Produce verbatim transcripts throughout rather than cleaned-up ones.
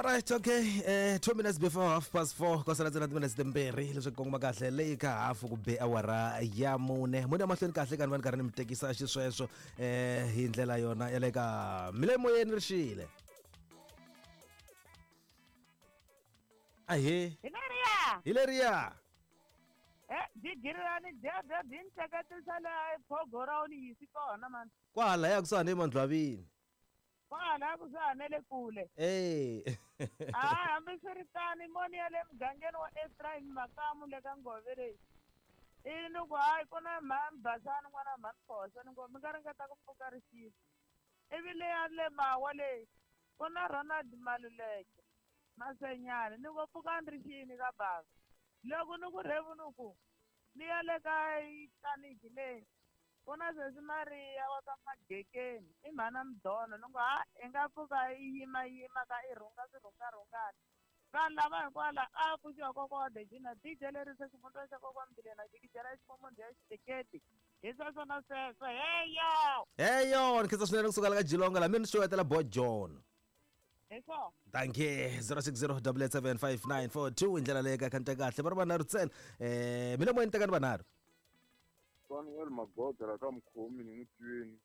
All right, okay. Eh, two minutes before half past four. Ko sala ntsena minutes timbirhi leswi kongoma kahle leyi ka hafu ku be awara ya mune. Mune mahlweni kahle ka ni karhi ni mi tekisa xisweswo eh hi ndlela yona ya le ka milemoyeni ri xile. Ahe. Hilariya. Hilariya. Eh, digirirani dya dya ntseketisa la phogora ni yisi kona man. Kwala ya kusuhani emandlwavini. Kwala kusuhani le kule. Eh. Ah, hambiswiritano moni ya le mugangeni wa Ephraim Makamu le ka Ngove leyi. I ni ku hayi ku na mhani Basani n'wana mhani Phosa ni ngo mi nga ringeta ku pfuka rixile. Ivi leya le Mawa leyi ku na Ronald Maluleke Masenyani ni ngo pfukani rixini ka bava. Loko ni ku rhevu ni ku ni ya le ka tlaniki leyi ku na sesi Maria wa ka Magekeni i mhana Mdono ni ngo ha i nga pfuka i yimayima ka i rhunga swirhungarhungani vanhu lava hinkwala a pfuxiwa kokwa wa Dejina D J leri se xivundza xa kokwa Mbilena jikijela xifomo ya xiteketi hi sweswo na sweswo heyo heyo ni khensa swinene kusuka la ka Jilonga la mina ni xewetela Bo John. Eso. Thank you. zero six zero double eight seven five nine four two i ndlela leyi ka khanta kahle va ri vanharhu ntsena eh mina moyeni tekani vanharhu. Samuel Magoda la ka Mkhomi ni n'wi twini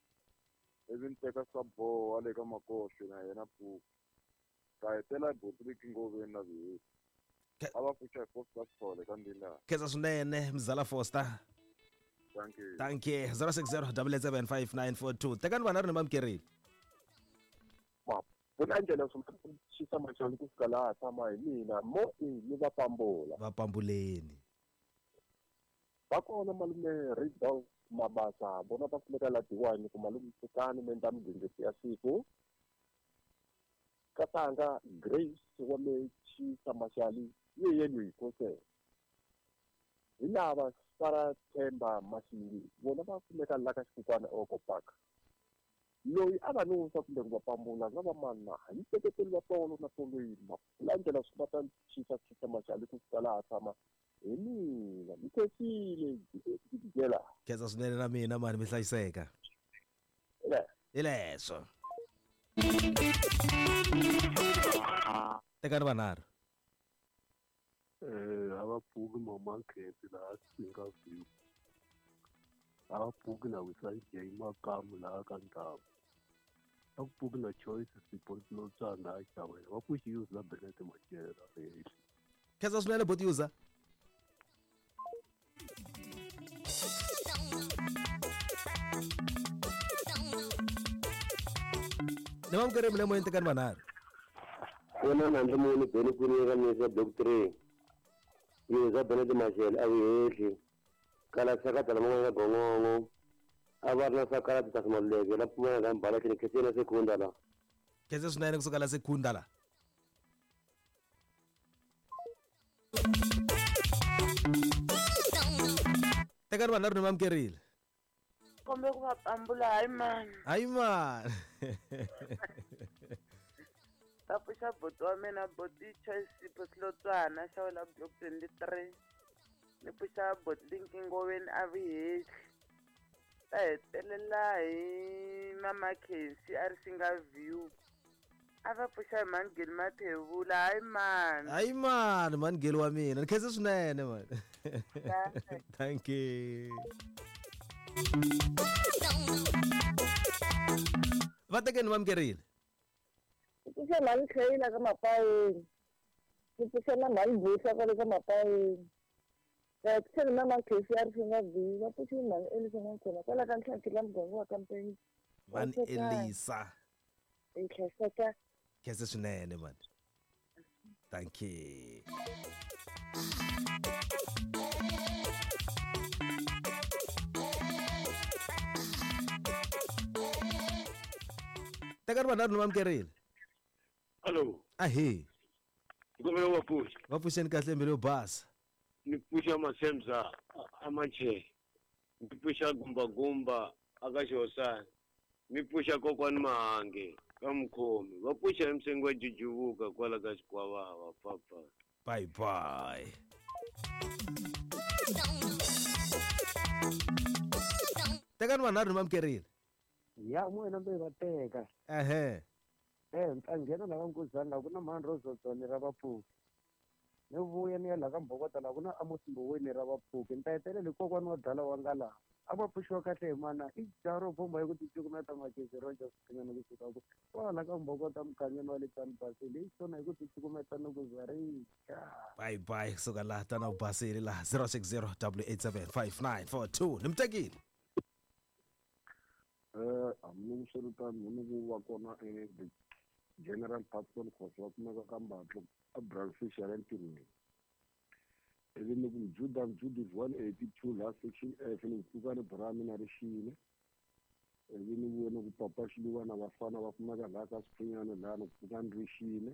ivi ni teka swa boha le ka Makosi na yena Puku ka hetela Botliki Ngoveni na Viheti a va pfuxa hi Foster Sithole ka Ndilana. Khensa swinene mzala Foster. Thank you. Thank you. zero six zero double eight seven five nine four two tekani vanharhu ni mamkerile. Ku endlela swi xisa machali ku fika laha tshama hi mina mo i ni va pambula. Va pambuleni. Va kona malume Ridolf Mabasa vona va kumeka la Diwani ku malume pfukani mi endla migingiriko ya siku. Katanga Grace wa me Xisa Machali ye yena hi kose. Hi lava Sara Themba Mashingi vona va kumeka la ka Xikukwana Oko Park. Loyi a va nusa kumbe ku va pambula nga va mana hi seketeli va tolo na toloyini malandela swi va ta xisa xisa Machali ku fika laha tshama hi mina mi khensile jela. Khensa swinene na mina mani mi hlayiseka. Hi leswo. Tekani vanharhu. Eh, a va pfuki mama Nkhensi laha Singa View. A va pfuki na Wisai J Makamu laha ka Ndhawu. A ku pfuki na Choice Sipho Lotsana a Xavela. Va pfuxi use la Benete Machela. Khensa swinene bot user. Ni mamukeri mi le moyeni tekani vanharhu. Wena nandzu muni beni ku ni ka misa block three. Yuza Benete Machela a hehli. Kala sakata la man'wana gongongo. A va ri na sakala ti ta Maluleke la pfumela ka mbala kini khensile sekunda la. Khensa swinene kusuka la sekunda la. Tekani vanharhu ni mamukerile. Kombe ku va pambula hayi mani. Hayi mani. Va pfuxa buti wa mina buti Choice Sipho Silotswana xa wela block twenty-three. Ni pfuxa buti Linki Ngoveni a Vihehli. Ta hetelela hi mama Khensi a ri Singa View. A va pfuxa hi Mangeli Mathevula hayi mani. Hayi mani Mangeli wa mina ni khensa swinene mani. Thank you. Va tekeni mamukerile. Pfuxa mhani Khayila ka Mapayeni. Ni pfuxa na mhani Busa kwale ka Mapayeni. Va pfuxa na mama Khensi a ri Singa View. Va pfuxa mhani Elisa N'wakhona kwala ka Ntlhantlhi la muganga wa ka Mpenzi. Mhani Elisa. I khensa. Khensa swinene mani. Thank you. Tekani vanharhu ni mamukerile. Hello. Ahe. Ngomele wa pfuxa. Va pfuxeni kahle mbilu yo basa. Ni pfuxa Masemza a Manche. Ni pfuxa Gumba Gumba aka Xihosana. Ni pfuxa kokwani Mahange ka Mkhomi. Va pfuxa Msengi wa Jujuvuka kwala ka Xikwavava papa. Bye bye. Tekani vanharhu ni mamukerile. Ya n'wina mi va teka. Ehe. Eh ni ta nghena laha ka Nkuzana laha ku na mhani Rozotsone ra vapfuki. Ni vuya ni ya laha ka Mbhokota laha ku na Amos Mboweni ra vapfuki. Ni ta hetelela hi kokwana wa dala wa nga laha. A va pfuxiwa kahle hi mana i jaha ro bomba hi ku ticukumeta makezi ro dya swikanyana kusuka ku kwala ka Mbhokota mugangeni wa le Tani Basile hi swona hi ku ticukumeta ni ku za ri Bye bye kusuka laha tana u basile laha zero six zero double eight seven five nine four two ni mi tekile. Eh hambilokoswiritano ni ku va kona e the General Patson Khosa va kumeka ka Mbatlo a Brandfish ya le ntirhweni. Ivi ni ku Judah Judith one eighty two laha section F ni ku pfuka ni bra mina ri xile. Ivi ni vuye ni ku papa Xiluva na vafana va kumeka laha ka Swipfunyana laha ni ku pfuka ni ri xile.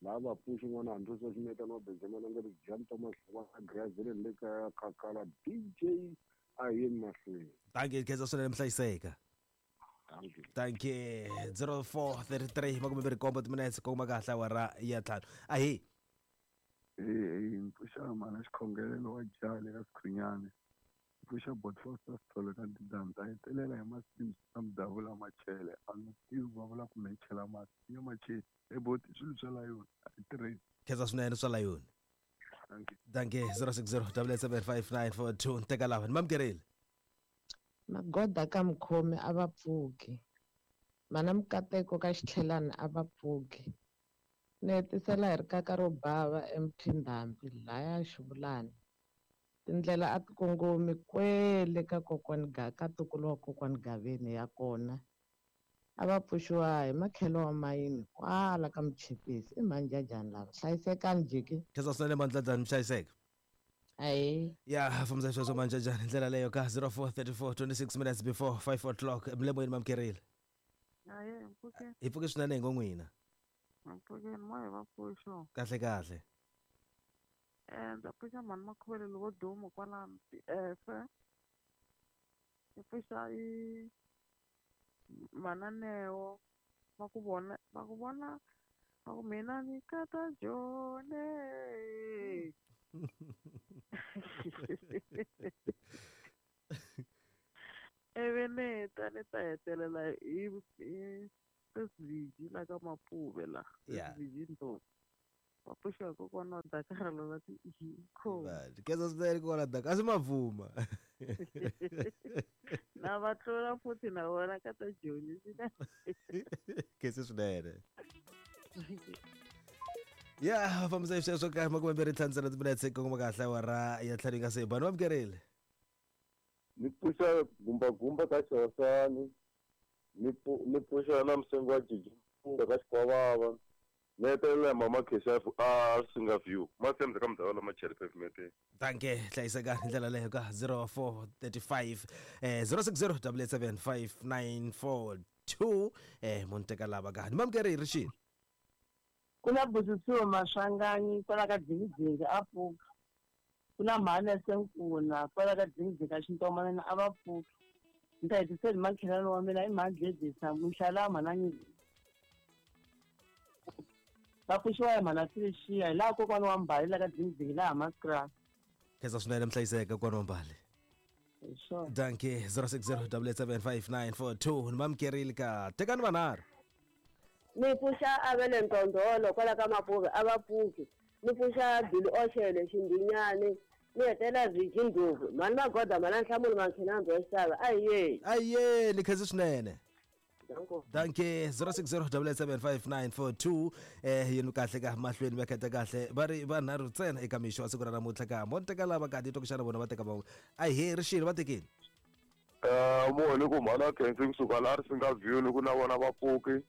Laha va pfuxi n'wana Andrews wa Ximeta na Benjamin a nga ri Jan Thomas wa Grazile le ka Khakhala D J a yeni mahlweni. Thank you khensa swinene mhlayiseka. Thank you. Thank you. zero four thirty three makume mbirhi nkombo timinetse kongoma kahle awara ya ntlhanu. Ahi. Eh eh mpfuxa mana xikhongelelo wa jale ka Sikhunyane. Mpfuxa Botfoster Sithole ka Ndidamza a hetelela hi masimu ta mudavula machele a nga tivi va vula ku me chela mati ya machele e boti swilo swa la yona a yi tirhisi. Khensa swinene swa la yona. Thank you. Thank you. zero six zero double eight seven five nine four two teka lava ni mamukerile. Magoda ka Mukhomi a va pfuki. Mana Mukateko ka Xitlhelani a va pfuki. Ni hetisela hi rikaka ro bava eMthindhambi laya Xivulani. Tindlela a ti kongomi kwele ka kokwani ga ka ntukulu wa kokwani Gaveni ya kona. A va pfuxiwa hi makhelo wa mayini kwala ka Muchipisi i manjajani lava hlayisekani jiki. Khensa swinene mandlajani mi hlayiseka. Ayi. Ya fambisa sweswo manjajani hi ndlela leyo ka zero four thirty four twenty six minutes before five o'clock milemoyeni mamukerile. Aye, mpfuke. Hi pfuke swinene hi ngo n'wina. Mpfukeni moya va pfuxo. Kahle kahle. Eh ndza pfuxa mhani Makhuvele wo duma kwalano T F. Ni pfuxa i mananeo va ku vona va ku vona va ku mina ni kata jone. Ivi ni ta ni ta hetelela hi hi Sviji la ka Mapuve la. Yeah. Sviji Ndlovu. Va pfuxa kokwana wa Dakar la ti ikho. Khensa swinene kokwana Dakar a swi mavuma. Na va tlula futhi na vona ka ta Joni. Khensa swinene. Ya fambisa hi sweswo ka makume mbirhi ntlhanu ntsena timinetse kongoma kahle awara ya ntlhanu yi nga se ba ni mamukerile. Ni pfuxa gumbagumba ka Xihosani. Ni ni pfuxa na Msengo wa Jiji ka Xikwavava. Ni hetelela hi mama Khesha a Singa View. Masembe ka mudavula machele pavement. Thank you. Hlayiseka hi ndlela leyo ka zero four thirty five eh zero six zero double eight seven five nine four two eh munhu teka lava ka ni mamukerile rixini. Ku na Busisiwe Maswanganyi kwala ka Dzingidzingi a pfuka. Ku na mhani Senkuna kwala ka Dzingidzingi ka Xintomanana a va pfuka. Ni ta hetisela hi makhelwani wa mina i mhani Dledisa Muxala mhana va pfuxiwa hi mhana Felicia hi laha kokwana wa Mbali la ka Dzingidzingi laha Mascra. Khensa swinene mhlayiseka kokwana wa Mbali. Thank you. zero six zero double eight seven five nine four two ni mamukerile ka tekani vanharhu. Ni pfuxa Avele Ntondolo kwala ka Mapuve a va pfuki. Ni pfuxa Billy Oshele Xindinyani. Ni hetela Viji Ndlovu mhani Magoda mhana Nhlamulo Mankhenambi wa Xitava aye. Aye ni khensa swinene. Thank you. zero six zero double eight seven five nine four two eh yini kahle ka mahlweni va kheta kahle va ri vanharhu ntsena eka mixo wa siku ra namuntlha ka mo teka lava ka titwa ku xana vona va teka van'we a hi rixini va tekeni. Eh mo ni ku mhana Khensi kusuka laha Risinga View ni ku na vona va pfuki.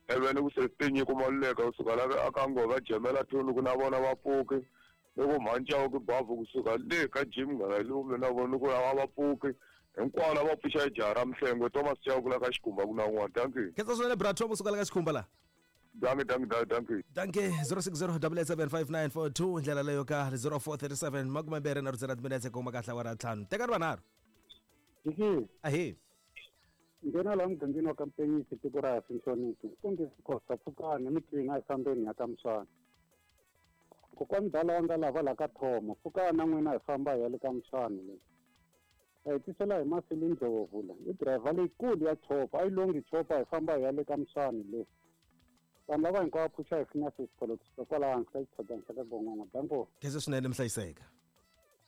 Ivi ni ku Sestinyi ku Maluleka kusuka laha aka Ngova Jemela two ni ku na vona va pfuki. Ni ku Mhancawu ku Bavu kusuka le ka Jim Ngalalume na vona ni ku lava va pfuki. Hinkwavo lava pfuxa jaha ra Mhlengwe Thomas Chauke la ka Xikhumba ku na un'wana. Thank you. Khensa swinene bra Thomas kusuka la ka Xikhumba la. Dankie, dankie, dankie. Dankie. zero six zero double eight seven five nine four two ndlela leyo ka zero four thirty seven makume mbirhi na rhutsela timinetse kongoma kahle awara ntlhanu. Tekani vanharhu. Jiki. Ahi. Nghena laha mugangeni wa ka Mpenyisi tiko ra Sinhlonipho. Kumbe Khosa pfukani mitwini a hi fambeni ya ka Muswana. Kokwani dala wa nga lava la ka Thomo pfukani na n'wina hi famba hi ya le ka Muswana le. A hi tisela hi Masili Ndlovu la. I driver leyikulu ya chopa a yi longi chopa hi famba hi ya le ka Muswana le. Vanhu lava hinkwavo pfuxa hi Phineas Xipholotso kwalaho hansi ka xitshopana xa ka Gongongo. Danko. Khensa swinene mi hlayiseka.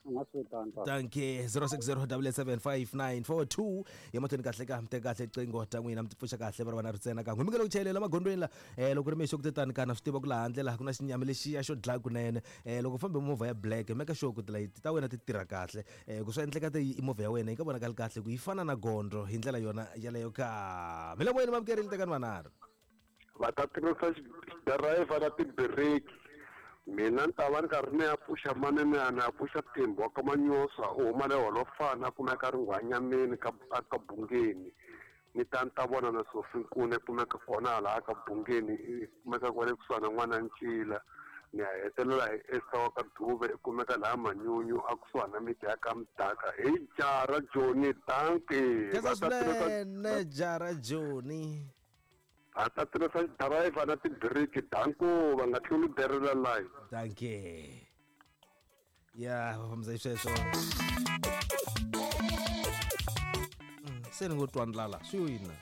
U nga swi vitani tata. Dankie zero six zero double seven five nine four two ya mahlweni kahle ka mi teka kahle qingho ta n'wina mi ti pfuxa kahle va ri vana ri ntsena kan'we mi nge le ku chayelela magondzweni la um loko ri mixo ku tetani kana swi tiva ku laha handle laha ku na xinyami lexiya xo dlaya kunene um loko u fambe movha ya black make sure ku tilayiti ta wena ti tirha kahle um ku swi endleka ti movha ya wena yi nga vonakali kahle ku yi fana na gondzo hi ndlela yona yaleyo ka mi le moyeni mamukerile tekani vanharhu. Va ta tirhisa driver na tibiriki. Mina ni ta va ni karhi ni ya pfuxa manene ni ya pfuxa Thembi wa ka Manyosa u huma le Holofana a kumeka a ri nghwanyameni ka ka Bungeni. Ni ta ni ta vona na Sophie Nkuna kumeka kona hala ka Bungeni i kumeka kwale kusuhana n'wana Ncila. Ni ya hetelela hi Esther wa ka Dube i kumeka laha Manyunyu a kusuhana miti ya ka Mdaka. Hi Jara Johnny, dankie. Khensa swinene Jara Johnny. Va ta tirhisa driver na tibiriki, danko va nga tluli berela line. Dankie. Ya va fambisa xisweswo. Se ni ngo twa ndlala swi wina.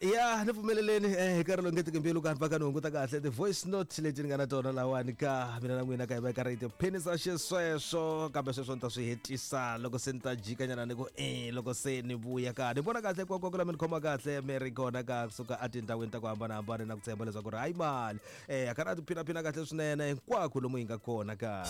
Ya ni pfumeleleni eh hi nkarhi lowu nge tiki mbilu ka ni ni hunguta kahle ti-voice note leti ni nga na tona lawani ka mina na n'wina ka hi va ka ri tiphinisa xisweswo kambe sweswo ni ta swi hetisa loko se ni ta jikanyana ni ku e loko se ni vuya ka ni vona kahle kwakwa la mi ni khoma kahle mi ri kona ka kusuka etindhawini ta ku hambanahambana na ku tshemba leswaku ri hayi mali eh a karhi a tiphinaphina kahle swinene hinkwako lomu hi nga kona ka.